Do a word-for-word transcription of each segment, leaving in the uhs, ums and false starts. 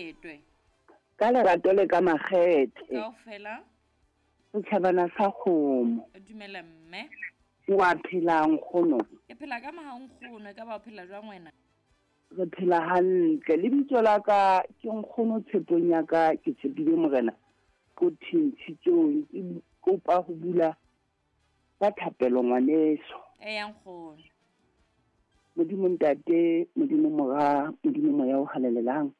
Phetwe. Ka lerato le ka makgethe. Kaofela. Setjhabana sa kgomo. Dumela mme. Wa phela nkgono? Ke phela ka maha nkgono, e ka ba o phela jwang wena? Re phela hantle. Lebitso la ka ke nkgono tshepong ya ka, ke tshepile Morena ko thintshitsong. Ke kopa ho bula ka thapelo ngwaneso. Eya nkgono. Modimo Ntate, Modimo Mora, Modimo Moya o halalelang.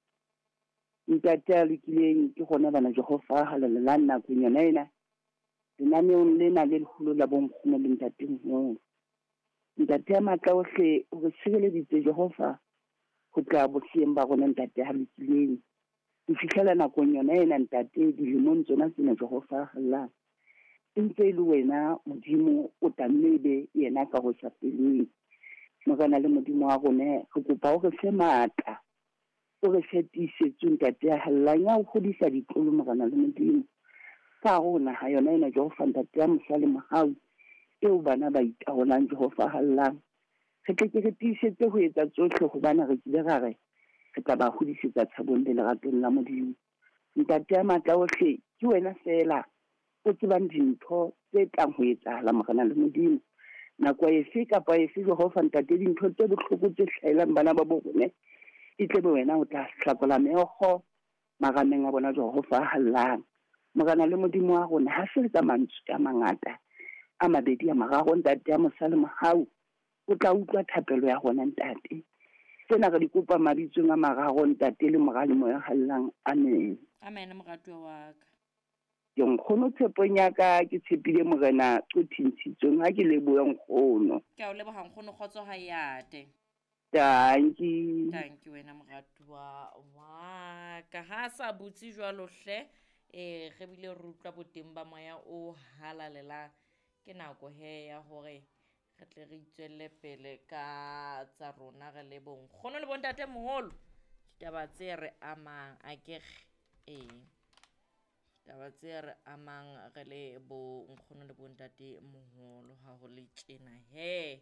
Ntate a lokileng ke gona bana Jehova halalelang nakong yona ena. Lenaneong lena le leholo la bonkgono le ntate moholo. Ntate ya matla ohle o re sireleditse Jehova ho tla bohleng ba rona ntate ha lokileng. Ho fihlela nakong yona ena ntate dilemong tsona tsena Jehova halalelang. E ntse e le wena Modimo o tlamme ebe yena ka ho sa feleng. Morena le Modimo wa rona re kopa o re fe matla, o re fe tiisetso ntate ya hallang ya ho hodisa ditlolo Morena le Modimo. Ka hare ho naha yona ena Jehova ntate ya mosa le mohau eo bana ba itaolang Jehova hallang. Re tle ke re tiisetse ho etsa tsohle hobane re kile ra re re tla ba hodisetsa tshabong le leratong la Modimo. Ntate ya matla ohle ke wena feela o tsebang dintho tse tlang ho etsahala Morena le Modimo. Nako efe kapa efe Jehova ntate dintho tse bohloko tse hlahelang bana ba bo rona e tle be wena o tla hlakola meokgo marameng a bona Jehova hallang. Morena le Modimo wa rona ha se ka mantswe a mangata a mabedi a mararo ntate ya mosa le mohau o tla utlwa thapelo ya rona ntate. Tsena re di kopa mabitsong a mararo ntate le Mora le Moya hallang. Amen. Amen moratuwa wa ka. Ke nkgono tshepong ya ka ke tshepile Morena o thintshitsweng ha ke leboha nkgono. Ke a o leboha nkgono, kgotso ha e ate. Dankie. Dankie wena moratuwa wa ka. Ha sa butse jwalo hle, eh re bile re utlwa boteng ba moya o halalelang. Ke nako he ya hore re tle re itswelle pele ka tsa rona re le bonkgono le bontate moholo. Ditaba tse re amang akere, ee taba tse re amang re le bonkgono le bontate moholo ha ho le tjena he.